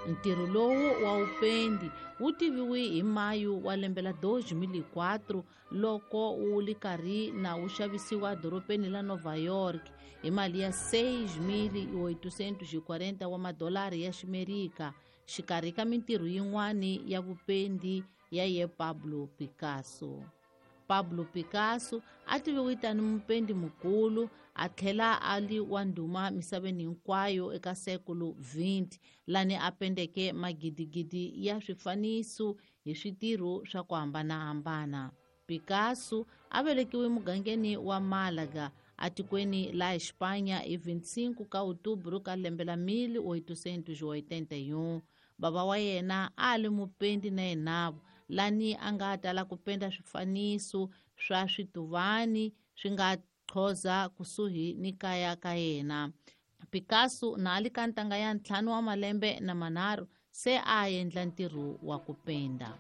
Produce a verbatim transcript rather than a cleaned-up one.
Ntirho lowu wa upendi wu tiviwe hi mayu wa lembe la dois mil e quatro loko wu li karhi na wu xavisiwa dorobeni la Nova York hi mali ya seis mil e oitocentos e quarenta wa madolari ya Ximerika, xikarhi ka mintirho yin'wani ya vupendi ya ye Pablo Picasso. Pablo Picasso a tiviwe tani mupendi mukulu a tlhela a li wa ndhuma misaveni hinkwayo eka sekulu vinte, lani a pendeke magidigidi ya swifaniso hi switirho swa ku hambanahambana. Picasso a velekiwe mugangeni wa Málaga atikweni la Espanha hi vinte e cinco ka outubro ka lembe la mil oitocentos e oitenta e um. Baba wa yena a li mupendi na yenavo, lani a nga tala ku penda swifaniso swa swituvani swi nga qhoza kusuhi ni kaya ka yena. Picasso na ali ka ntanga ya ntlhanu wa malembe na manharhu se a endla ntirho wa ku penda.